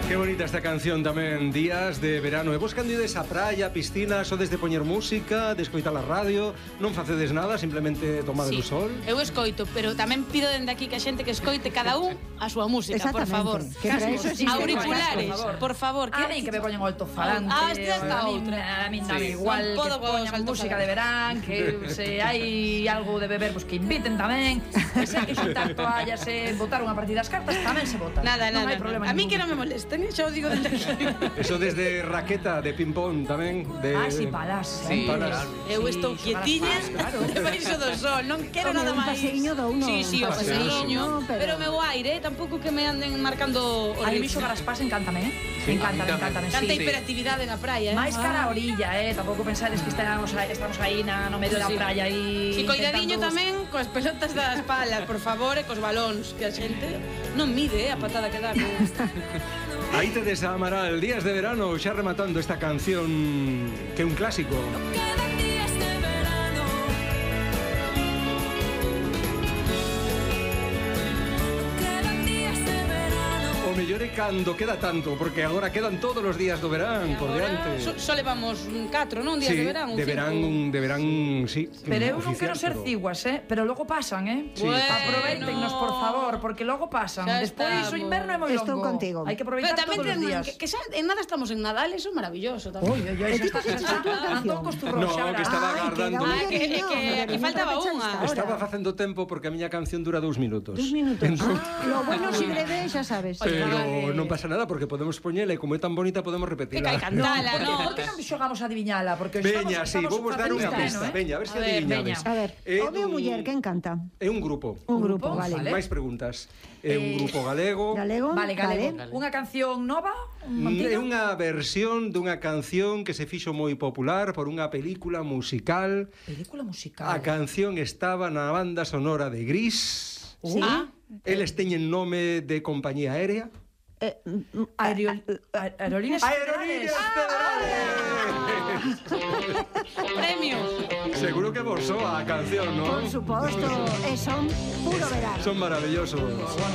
Qué bonita esta canción tamén, días de verano. E vos candides a praia, a piscina, sodes de poñer música, de escoitar a radio, non facedes nada, simplemente tomade o sol? Eu escoito, pero tamén pido dende aquí que a xente que escoite cada un a súa música, por favor. Que para eso existe Auriculares, por favor. A mí que me poñen o altofarante. Esta outra. A mí dame igual que poñan música de verán, que se hai algo de beber, pues que inviten tamén. Que se hai que xuntar toallas e botar unha partida das cartas, tamén se bota. Nada. Non hai problema. A mí que non me molesten, xa o digo dende aquí. Eso desde raqueta de ping-pong tamén. Sí, palas. Sí, palas. Eu estou quietiña debaixo do sol, non quero nada máis. Un paseiño do uno. Sí, o paseiño. Pero o meu aire, tampouco que me anden marcando o A mí ritmo. xogar as pas encántame, Encántame, Canta hiperactividade na praia, máis cara a orilla, tampouco pensades que estamos aí no medio da praia e si coidadiño tamén coas pelotas das palas, por favor, e cos balóns, que a xente non mide a patada que dá. Aí tedes a Amaral, días de verano, xa rematando esta canción que é un clásico. Mellor é cando queda tanto, porque agora quedan todos os días do verán por diante. Só levamos 4, non? Días de verán, de verán, sí. Pero eu non quero ser ciguas, pero logo pasan, Sí. Aproveitennos, por favor, porque logo pasan. Despois o inverno é moi longo. Estou contigo. Hai que aproveitar todos os días. Que xa en nada estamos en Nadal, eso é maravilloso tamén. E ti puxeches a túa canción? No, que estaba agardando. Que faltaba unha. Estaba facendo tempo porque a miña canción dura 2 minutos. 2 minutos. Lo bueno si breve, xa sabes. Pero non pasa nada porque podemos poñela e como é tan bonita podemos repetirla. Que cantala, non? Por que non xogamos a adiviñala? Porque Veña, sí, vamos dar unha pista. Veña, a ver se adiviñades. A ver, home ou muller, quen canta? É un grupo. Un grupo, vale. Máis preguntas. É un grupo galego. Galego? Vale, galego. Unha canción nova? É unha versión dunha canción que se fixo moi popular por unha película musical. Película musical. A canción estaba na banda sonora de Gris. Sí. Eles teñen nome de compañía aérea. Aerolíneas Federales. Premio. Seguro que vos soa a canción, non? Por suposto, son puro verano. Son maravillosos.